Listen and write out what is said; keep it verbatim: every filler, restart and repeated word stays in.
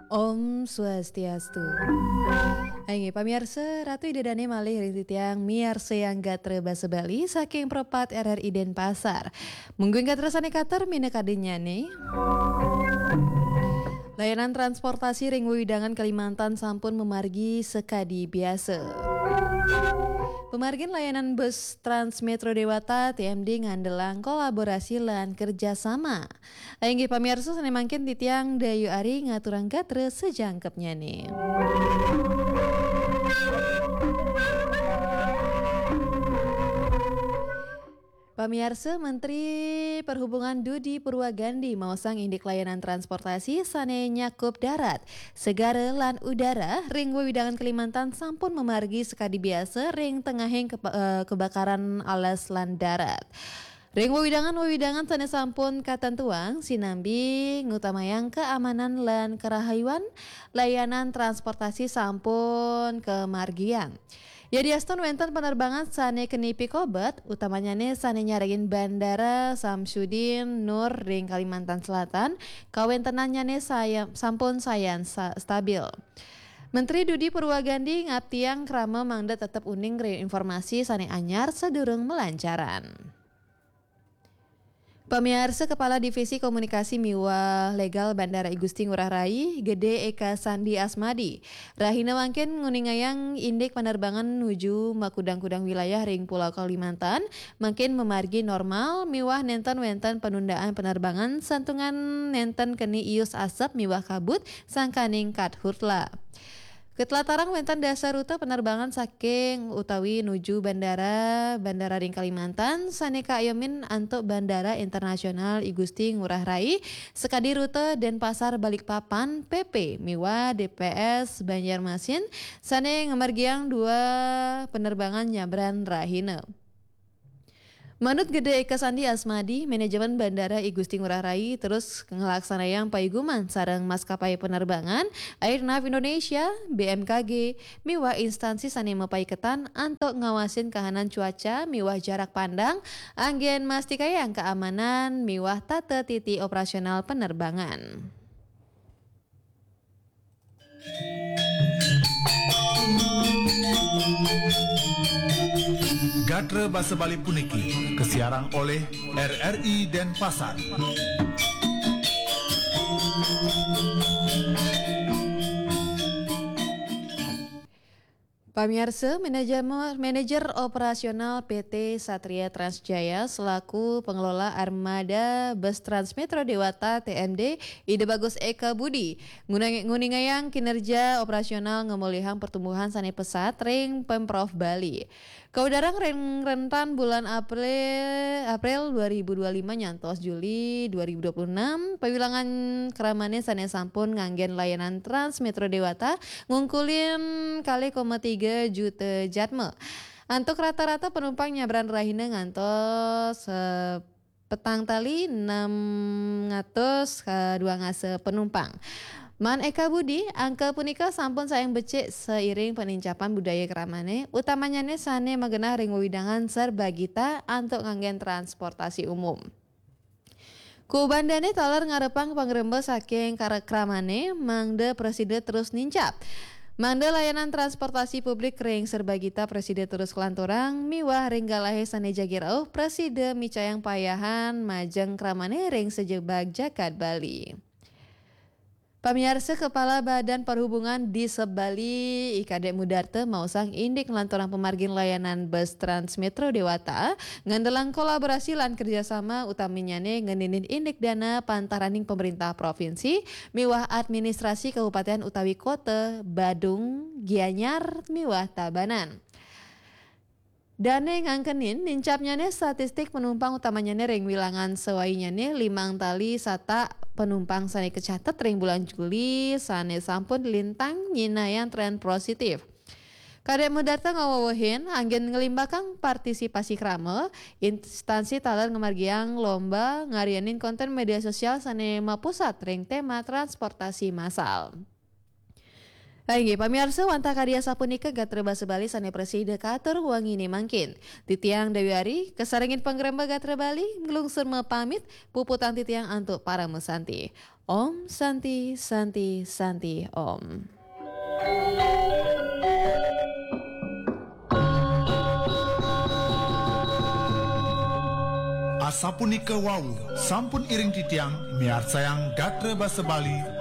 Om Swastiastu. Inggih pamiarsa, Ratu Ida Dane malih ring titiang miarsayang gatra basa Bali saking Pro pat R R I Denpasar. Mungguing gatra sane katur minakadinnyane. Layanan transportasi ring wewidangan Kalimantan sampun mamargi sakadi biasa. Pamargin layanan bus Trans Metro Dewata T M D ngandelang kolaborasi lan kerjasama. Inggih pamiarsa, sane mangkin titiang Dayu Ari ngaturang gatra sajangkepnyane. Pamiarsa, Menteri Perhubungan Dudi Purwagandi maosang indik layanan transportasi sane nyakup darat, segara lan udara ring wewidangan Kalimantan sampun mamargi sakadi biasa ring tengahing kepa-, eh, kebakaran alas lan darat. Ring wewidangan-wewidangan sane sampun katentuang, sinambi ngutamayang keamanan lan kerahayuan, layanan transportasi sampun kamargiang. Yadiastun wenten panerbangan sane keni pikobet, utamanyane sane nyarengin Bandara Samsudin Nur ring Kalimantan Selatan, kawentenannyane saya-, sampun sayan sa-, stabil. Menteri Dudi Purwagandi ngaptiang krama mangda tetep uning ring informasi sane anyar sadurung malancaran. Pamiarsa, Kepala Divisi Komunikasi miwah Legal Bandara I Gusti Ngurah Rai, Gede Eka Sandi Asmadi, rahina mangkin nguningayang indik panerbangan nuju makudang-kudang wilayah ring Pulau Kalimantan, mangkin mamargi normal miwah nenten wenten panundaan panerbangan santungan nenten keni ius asep miwah kabut sangkaning karhutla. Katlatarang wenten dasar rute panerbangan saking utawi nuju bandara, bandara ring Kalimantan, sane kaayomin antuk Bandara Internasional I Gusti Ngurah Rai, sakadi rute Denpasar Balikpapan, P P, miwah D P S Banjarmasin, sane ngamargiang dua panerbangan nyabran rahina. Manut Gede Eka Sandi Asmadi, manajemen Bandara I Gusti Ngurah Rai terus nglaksanayang paiguman sareng maskapai penerbangan, Airnav Indonesia, B M K G, miwah instansi sane mapaiketan antuk ngawasin kahanan cuaca miwah jarak pandang, anggen mastikayang kaamanan miwah tata titi operasional penerbangan. Gatra basa Bali puniki kasiarang olih R R I Denpasar. Pamiarsa, manajer, manajer operasional P T Satria Trans Jaya selaku pengelola armada bus Trans Metro Dewata T M D, Ida Bagus Eka Budi, ngunang-, nguningayang kinerja operasional ngamolihang pertumbuhan sane pesat ring Pemprov Bali. Kawidarang ring rentan bulan April, April dua ribu dua lima nyantos Juli dua ribu dua puluh enam, pawilangan kramane sane sampun nganggen layanan Trans Metro Dewata ngungkulin kalih koma tiga juta jadma. Antuk rata-rata penumpang nyabran rahina ngantos, eh, petang tali enam atus, eh, dua ngasa penumpang. Man Eka Budi, angka punika sampun sayan becik sairing penincapan budaya kramane, utamanyane sane magenah ring wewidangan serbagita antuk nganggen transportasi umum. Kubandane taler ngarepang pangremba saking kara-, kramane, mangda prasida terus nincap. Mangda layanan transportasi publik ring serbagita prasida terus kalanturang, miwah ring galahe sane jagi rauh prasida micayang payahan majeng kramane ring sajebag jagat Bali. Pamiarsa, Kepala Badan Perhubungan Disub Bali, I Kadek Mudarta, maosang indik nglanturang pamargin layanan bus Trans Metro Dewata, ngandelang kolaborasi lan kerjasama, utamanyane ngeninin indik dana pantaraning pemerintah provinsi miwah administrasi kabupaten utawi kota, Badung, Gianyar, miwah Tabanan. Dane ngangkenin nincapnyane statistik penumpang utamanyane ring wilangan sawainyane limang tali satak penumpang sane kacatet ring bulan Juli sane sampun lintang nyinayang tren positif. Kadek Mudarta ngawewehin anggen nglimbakang partisipasi krama, instansi taler ngamargiang lomba ngaryanin konten media sosial sane mapusat ring tema transportasi massal. Panggih pamiarsa, wantah kadi asapunika gatra basa Bali sane prasida katur wengi ne mangkin. Titiang Dewi Ari, kasarengin pangremba gatra Bali, nglungsur mapamit, puputang titiang antuk parama santi. Om Santi, Santi, Santi, Om. Asapunika wau, sampun iring titiang miarsayang gatra basa Bali